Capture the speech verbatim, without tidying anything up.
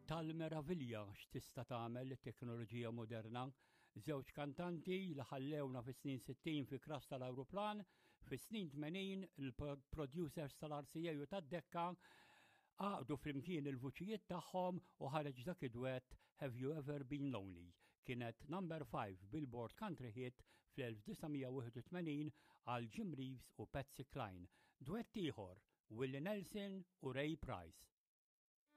Tal-meravilja x'tista' tagħmel it-teknoloġija moderna. Żewġ kantanti li ħallewna fis-snin sittin fi crash tal-ajruplan, fis-snin tmenin il-producers tal-R C A u tad-Decca għaqdu flimkien il-vuċijiet tagħhom u ħareġ dak id-duet "Have You Ever Been Lonely". Kienet number five Billboard Country Hit fl-elf disa' mija wieħed u tmenin għal Jim Reeves u Patsy Cline. Duett ieħor, Willie Nelson u Ray Price.